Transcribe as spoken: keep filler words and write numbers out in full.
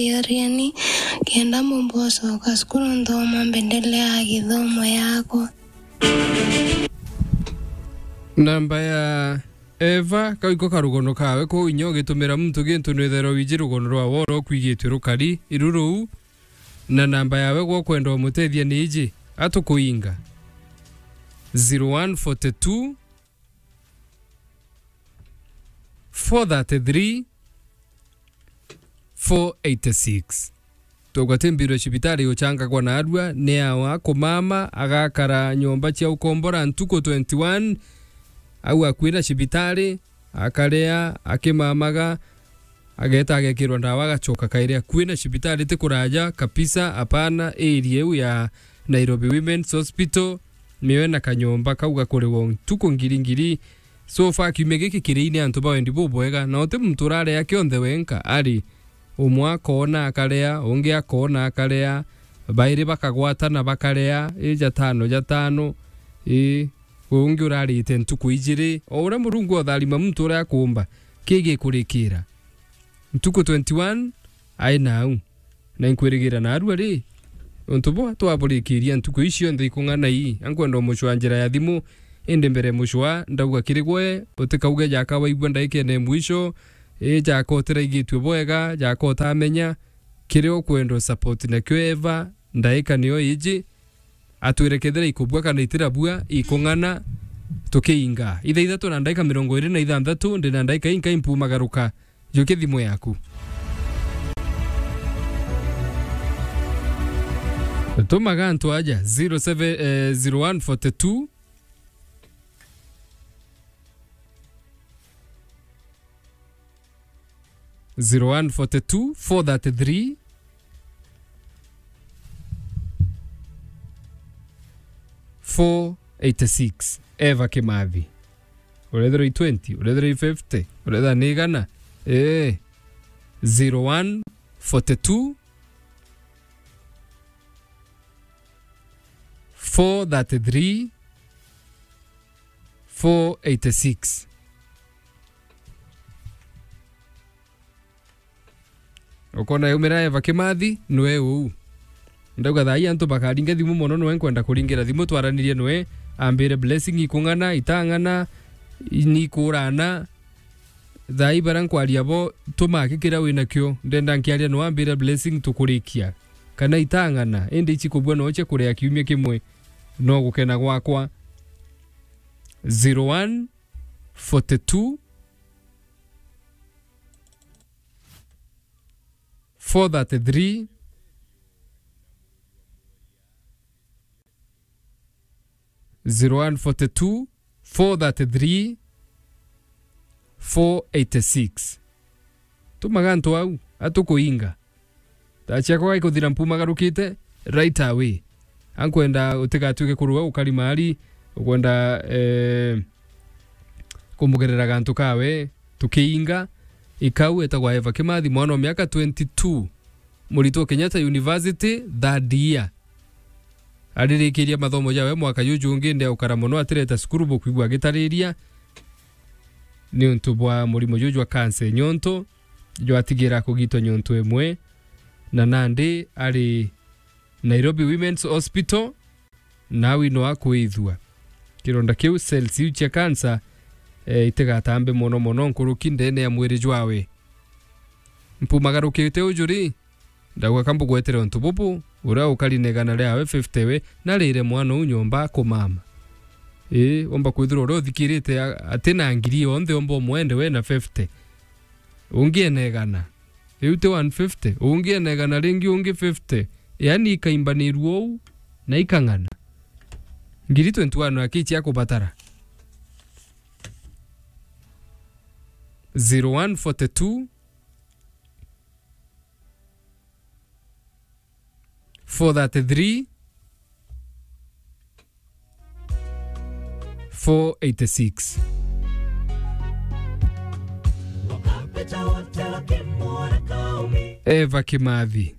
Yorieni, kenda mumbocoka cukuru nthoma mbendelea githomo yakwa. Namba ya Eva, kau iko karugono kawe, kwou inya ugitumira muntu gintu nwithirwa wiji rugono rwa woro kwigitwe rukari, iruru, na namba yawe gwa kwenda umutethia ni iji, atukuinga. Zero one forty two, four thirty three, four eighty six. Tugwate mbiro cibitari ucangagwa na arua, ni awa kumama, agakara nyomba cia ukombora ntuku twenty one, au akui na cibitari, akaria, akimamaga, ageta agekirwa ndawa, agacoka kairi akui na cibitari, ti kuraja kabisa, apana, area iu ya Nairobi Women's Hospital, mioe na kanyomba kau gakuriwa ntuku ngiri ngiri. So far, kiumia giki kiri ini antu ba wendi bubwega, na uti muntu urarea kionthe wenka, ari umwe akoona akarea, ungi akoona akarea, bairi bakagwatana bakarea, i jatano jatano, i, ungi urarite ntuku ijiri. O uria Murungu otharima muntu uria akuumba, ki gikurikira. Ntuku twenty one, ai nau. Na inkwirigira naarua ri, untu bwa twaburikiria ntuku ici cionthe ikung'ana ii, ankwenda umucwa njira ya thimu, indi mbere mucwa, ndauga kiri gwe, utikauge jaka waigua ndaikene mwisho, i jaka utiraigitue bwega, jaka utamenya, kiria ukwenda usupport nakio Eva, ndaika niyo iji, atwire kethira ikubua kana itirabua, ikung'ana, tukiinga. Ithaa ithatu na ndaika mirongo iri na ithanthatu, ndi na ndaika inkai mpumagaruka. Jukia thimu yaku. Tumaga antu aja, zero seven, eh, zero one forty two, zero one forty two, four thirty three, four eighty six. Eva Kimathi. Urethirwa i twenty, urethirwa i fifty, urethirwa ni igana. Ee. Zero one forty two, four thirty three, four eighty six. Ukona yaumira Eva Kimathi, nwe uu. Ndauga thaa ii antu bakaringa thimu mono, nwe nkwenda kuringira thimu, twaranirie nwe, ambire Blessing ikung'ana, itang'ana, nikurana. Thaa ii baria nkwaria bo, tumake kiria winakio, ndenda nkiaria nwe ambire Blessing tukurikia. Kana itang'ana, indi ici kubua nwe cia kuria kiumia kimwe, no gukena gwakwa. Zero one forty two, four thirty three, zero one forty two, four thirty three, four eighty six. Tumaga antu au, atukuinga. Thaa ciakwa gaikuthira mpumagarukite right away. Ankwenda utigatuike kuruga ukari mari, ukwenda, eh, kumugerera gantu kawe, tukiinga. Ikau etagwa Eva Kimathi, mwana wa miaka twenty two, muritwo Kenyatta University, third year. Aririkiria mathomo jawe mwaka juju ungi, ndi aukara mono atireta cukuru, bukwigua agitariria. Niuntu bwa murimo juju jwa cancer nyonto, jwatigira kugitwa nyonto imwe, na nandi ari Nairobi Women's Hospital, nawi no akwithua. Kironda kiu, cells iu cia cancer, eh, itigatambe mono mono nkuruki ndene ya mwiri jwawe. Mpumagarukite uju ri, ndauga ka mbugwetere untu bubu, uria ukari na igana riawe fifty we, narire mwana uu nyomba akumama. Ii, umba kwithirwa uria uthikirite a-, ati na ngiri yonthe, umba umwende we na fifty. Ungi ena igana. Riu ti one fifty, ungi ena igana ringi, ungi fifty. Yaani ikaimbanirua uu, na ikang'ana. Ngiri twenty one akichia kubatara. Zero one forty two, four thirty three, four eighty six. Eva Kimathi.